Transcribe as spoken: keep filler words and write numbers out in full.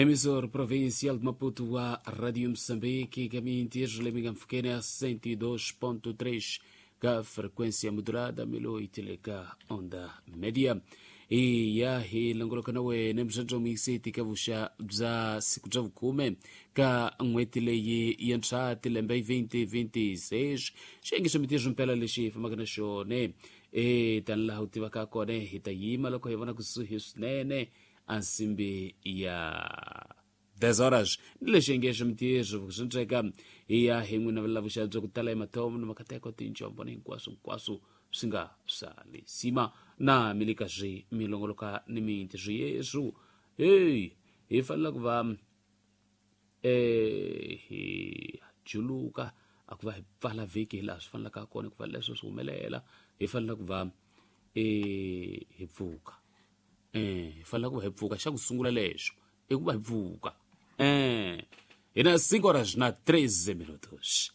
Emissor provincial de Maputo wa Radio Moçambique, caminho leminga mfukene a cento e dois ponto três ka frequência modulada milo itileka onda média. Iya hi longoloka na wena mxanxo mixiti ka vuxa bya siku bya vukhume ka n'hweti leyi yintshwa tilembe twenty twenty-six. Xiyenge xa mintirho mpela lexi hi fambaka na xona e tani laha u tivaka kona hi ta yima loko hi vona kusuhi swinene a nsimbi ya dez horas ni lexi xiyenge xa mintirho swi endleka hi ya hi n'wina va vuxa bya ku tala hi mathomo ni makateko tinjombo ni hinkwaswo hinkwaswo swi nga swa lisima na milika swi milongoloka ni mintirho yesu. Hey, hi fanele ku va eh hi juluka a ku va hi pfala vhiki hi laha swi fanelaka kona ku va leswo swi humelela hi fanele ku va eh hi pfuka eh hi fanele ku va hi pfuka xa ku sungula lexo i ku va hi pfuka eh hina cinco horas na treze minutos.